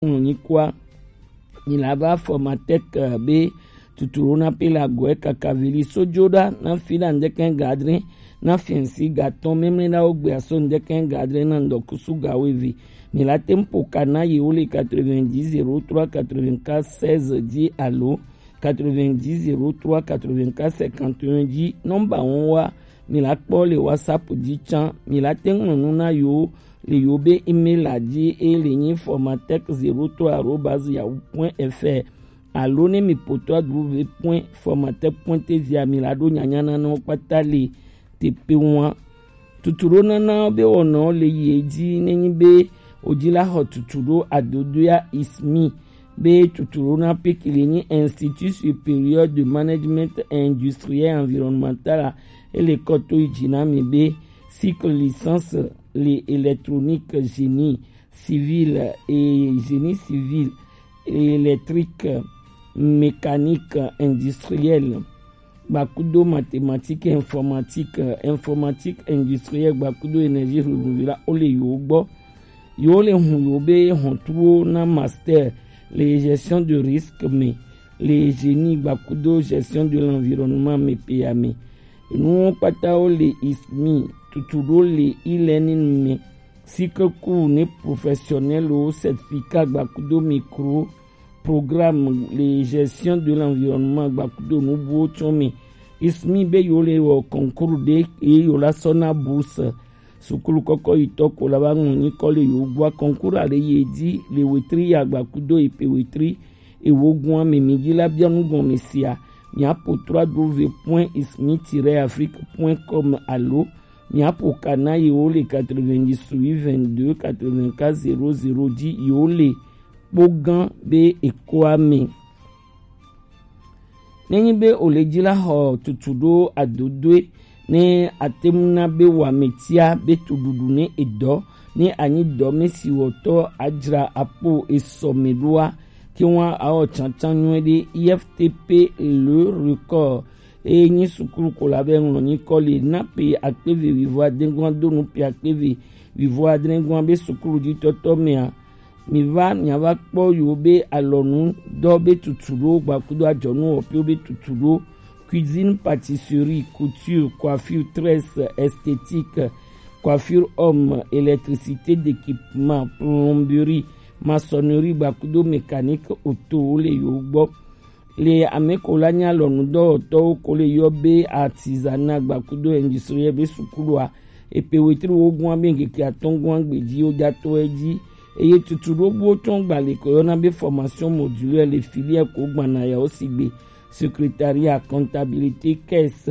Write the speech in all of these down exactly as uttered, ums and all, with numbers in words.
ŋlɔ nyi kua. Nyi la va Formatec, eh, be tuturo na pe la gɔɛ kaka veli sojo ɖa na fi ɖa ŋdɛkɛ gadre na fiɛnsi gatɔn memle ɖa wo gbe aso ŋdɛkɛ gadre na ŋdɔkusu gawo eve. Mi la tem po kana ye wo le quatre-vingt-dix zéro trois quatre-vingt-quatre seize dzi alo quatre-vingt-dix zéro trois quatre-vingt-quatre cinquante et un dzi. Nɔmba wɔn wa mi la kpɔ le WhatsApp dzi tsã. Mi la te ŋlɔ nu na yo le yo be email la dzi e le nyi formatec zéro trois arobase yahoo point F R alo ne mi poto adruve point formatec point T V a mi la ɖo nyanya na wo kpata le te pe ŋua. Tutuɖo nana be wɔnɔ le yi edzi nenyi be wodzi la xɔ tutuɖo adodoea ismi be tutuɖo na pekele nyi Institut Supérieur de Management Industriel et Environnemental a ele kɔto yi dzi na mi be cycle licence le électronique génie civil et génie civil électrique mécanique industriel gbakudo mathématique informatique, informatique industrielle gbakudo énergie renouvelable wo le yo gbɔ. Yo le hun yo be hɔntuwo na master le gestion de risque me le génie gbakudo gestion de l'environnement me pe ya me. Nuwo kpata wo le ismi tutuɖo le e-learning me. Cycle cours ne professionnel wo certificat gbakudo micro programme le gestion de l'environnement gbakudo nubuwo tsɔ me. Ismi be yo le wɔ concours ɖe eye yo la sɔ na bourse. Sukulu kɔkɔ yi tɔ ko la va ŋlɔ nyikɔ le yo gbɔ concours a le ye dzi le wetri ya gbakudo epe wetri ewo gua me mi dzi la bia nu gɔme sia. Mi apo trois w point ismi tiret afrique point com alo mi apo kana ye wo le quatre-vingt-dix-huit vingt-deux quatre-vingt-quatre zéro zéro dzi yo le kpo gã be ekoa me. Nenyi be o le dzi la xɔ tutuɖo adodoe ne ate ŋu na be wɔametia be tuɖuɖu ne edɔ ne anyi dɔ me si wɔtɔ adzra apo esɔ me ɖoa, ke ŋua awɔ tsantsan nyuie ɖe. I F T P le record eye nyi sukulu ko la be ŋlɔ nyikɔ le na pe akpeve wivo adegua do nu pe akpeve wivo adegua be sukulu dzi tɔtɔ mea. Mi va mi va kpɔ yo be alɔnu dɔ be tutuɖo gbakudo adzɔnu wɔƒewo be tutuɖo cuisine, pâtisserie, couture, coiffure, tresse, esthétique, coiffure homme, électricité d'équipement, plomberie, maçonnerie gbakudo mécanique auto wo le yo gbɔ. Le ame ko la nya lɔnudɔwɔtɔwo ko le yɔ be artisanat gbakudo industriel be sukulua epe wetri wo gua be ŋkeke atɔn gua gbedzi wo dza tɔ edzi eye tutuɖo buwo tɔn gba le ko yɔna be formation modulaire le filière ko gbana ya wo sigbe secrétariat, comptabilité, caisse,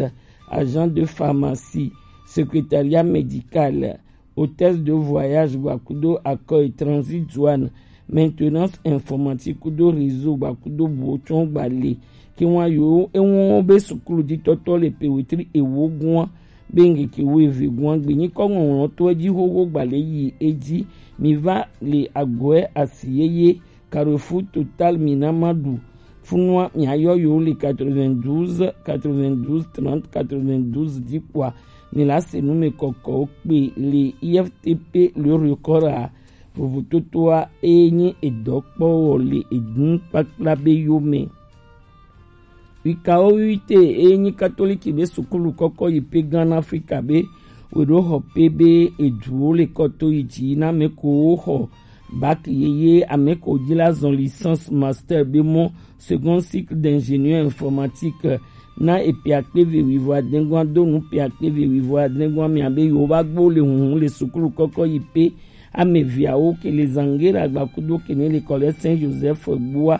agent de pharmacie, secrétariat médical, hôtesse de voyage gbakudo accueil, transit, douane, maintenance informatique kudo réseau gbakudo buwo tsɔ gba le. Ke ŋua yo eŋu be sukulu dzi tɔtɔ le pe wetri ewo gua be ŋkeke wo eve gua gbe nyikɔ ŋɔŋlɔ to edzi xoxo gba le yi edzi. Mi va le agɔe asi yeye Carrefour Total Minamadu. Funua miayɔ yo le quatre-vingt-douze quatre-vingt-douze trente quatre-vingt-douze dzi kpoa mi la se nu me kɔkɔwo kpe le I F T P le record a vovototoa eye nyi edɔkpɔwɔ le egun kpakpla be yo me. Wikawo wite eye nyi katoliki be sukulu kɔkɔ yi pe gan Afrika be weɖo xɔ pe be eduwo le kɔto yi dzi na ame ko wo xɔ bac yeye ame ko dzi la zɔn licence master be mɔ second cycle d'ingénieur informatique na epe akpeve wivo adengua do nu pe akpeve wivo adengua mia be yo va gbo le huhu le sukulu kɔkɔ yi pe ame viawo ke le zangera gbakudo ke ne le kɔlɛ Saint Joseph gbua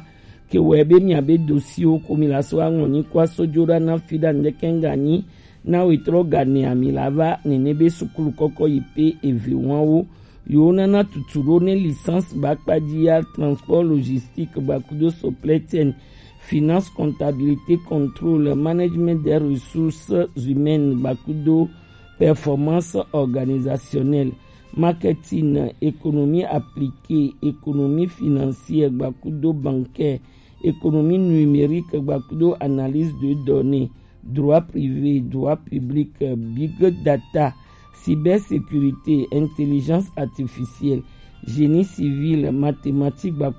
ke wɛ be mia be dosiwo ko mi la so aŋlɔ nyi ko aso jo ɖa na fi ɖa ŋdɛkɛ ŋga nyi na wetrɔ ga ne ami la va nene be sukulu kɔkɔ yi pe eve wawo yo nana tutu ɖo ne licence ba kpadzi ya transport logistique gbakudo supply chain finance comptabilité contrôle management des ressources humaines gbakudo performance organisationnelle, marketing, économie appliquée, économie financière gbakudo bancaire, économie numérique gbakudo analyse de données, droit privé, droit public, big data, cybersécurité, intelligence artificielle, génie civil, mathématique, ba